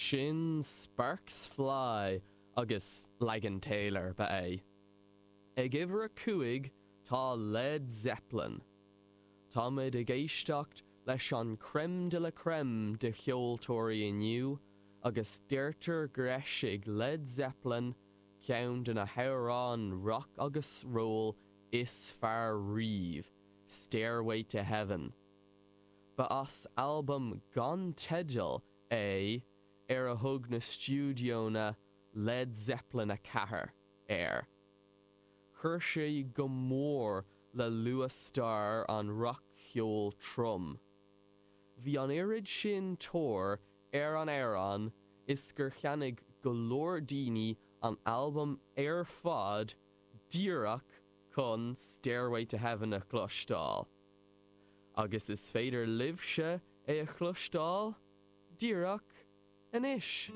Sin Sparks Fly agus leagan Taylor ba é. Ag uimhir a 5 tá Led Zeppelin. Táimid ag éisteacht leis an crème de la crème de cheoltóirí inniu agus deirtear gur eisigh Led Zeppelin ceann de na hamhráin rock agus roll is fearr riamh, Stairway to Heaven. Ba as albam gan teideal é ar a thug na stiúideonna Led Zeppelin 4 air. Chuir sé go mór le luathstair an rac-cheoil trom. Bhí an oiread sin tóir ar an amhrán is gur cheannaigh go leor daoine an albam ar fad díreach chun Stairway to Heaven a chloisteáil. Agus is féidir libhse é a chloisteáil díreach anois!